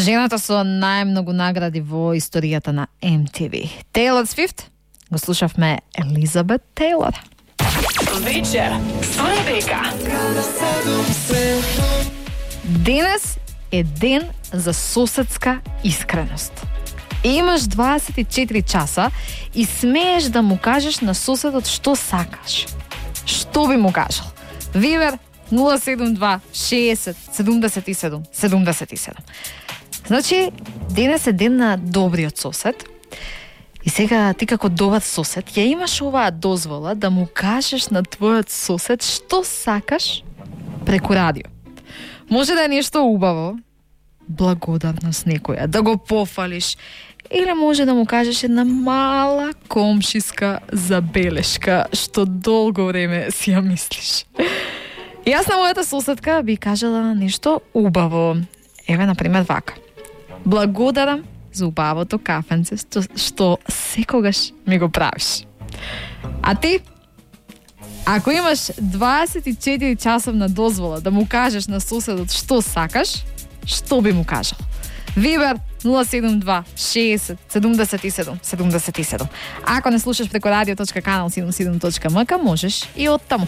Жената со најмногу награди во историјата на MTV. Taylor Swift, го слушавме Елизабет Тейлор. Вечер со Ребека. Денес е ден за соседска искреност. Имаш 24 часа и смееш да му кажеш на соседот што сакаш. Што би му кажал? Вибер 072 60 77 77. Значи, денес е ден на добриот сосед. И сега ти како добар сосед ја имаш оваа дозвола да му кажеш на твојот сосед што сакаш преку радио. Може да е нешто убаво, благодарност некоја, да го пофалиш, или може да му кажеш една мала комшиска забелешка што долго време си ја мислиш. Јас на мојата соседка би кажала нешто убаво. Еве, например, вака. Благодарам за убавото кафенце што секогаш ми го правиш. А ти? Ако имаш 24 часовна дозвола да му кажеш на соседот што сакаш, што би му кажал? Вибер 072 60 77 77. Ако не слушаш преку radio.kanal77.mk, можеш и од таму.